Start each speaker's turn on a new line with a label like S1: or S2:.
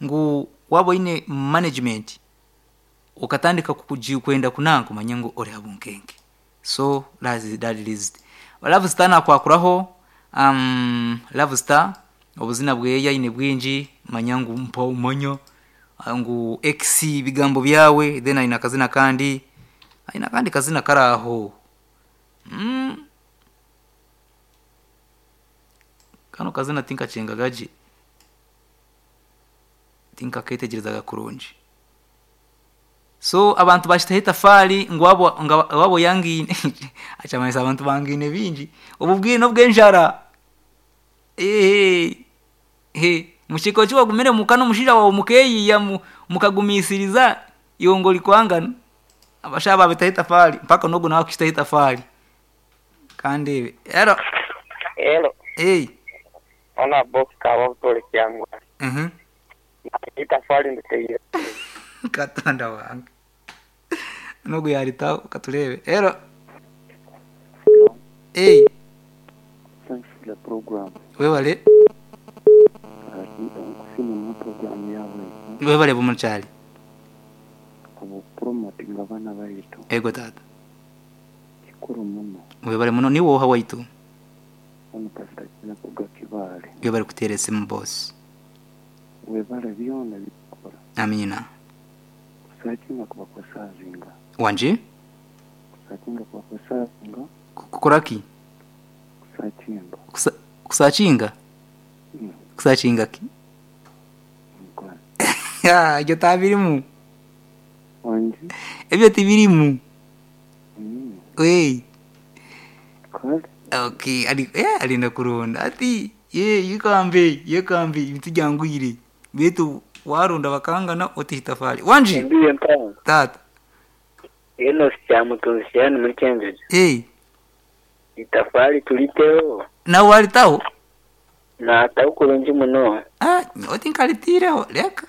S1: Ngu waaba oine management okatandika kwenda kunanka omanye ngu ori aha bunkenke. So that is it. Love Star nakwakuraho, Love Star obuzina bweye aine bwingi manya ngu mpa omanya ngu ex bigambo byawe then aine akazina akandi, aine akandi kazina kari aho. Kanu kazina tinkakyengaga gye, tinkaketegyerezaga kurungi. So abantu bakitaho etafaari ngu waaba oyangaine kyamanyisa abantu bangaine bingi. Obu obwire n'obw'enjara. Omu ki wagumire omuka n'omushaija waawe mukeeyiiya mukagumisiriza iwe ngu orikwangana, abashaija babitaho etafaari mpaka n'ogu nawe akakitaho etafaari. Kandeebe. Helo.
S2: Helo.
S1: Hey.
S2: Ona box kaba butore kyangwa. Itafaari nditeire.
S1: Katonda wange. N'ogu yaritaho katureebe. Helo. Hey.
S3: Thanks for the program.
S1: Webale.
S3: Nkusiima program yawe.
S1: Webale bumukyali.
S3: Obupromotinga abaana baitu.
S1: Ego tata.
S3: Kikuru muno.
S1: Webale muno niwe oha waitu.
S3: Onu Pastor Kinakuga Kibaale.
S1: Webale kuteera esimu boss.
S3: Webale byona byokora.
S1: Amiina.
S3: Kusakinga kuba kusazinga.
S1: Wangi?
S3: Kusakinga kuba kusazinga.
S1: Kukora ki?
S3: Kusakinga.
S1: Kusakinga? Kusakinga ki?
S3: Mukwano.
S1: Ebyo tabirimu.
S3: Wangi?
S1: Ebyo tibirimu. Hey.
S3: Kale.
S1: Okay, ari arenda kuronda ati ye yekambe yekambe ebintu byangwire beitu waronda bakangana otiha itafaari. Wangi?
S2: Ndiyo mpango.
S1: Taata.
S2: Enos Kyamutunzi Shani muri Cambridge.
S1: Hey.
S2: Itafaari turiteho.
S1: Nawe waritaho?
S2: Naataho kurungi muno.
S1: Ah, nyowe tinkaritiireho reka.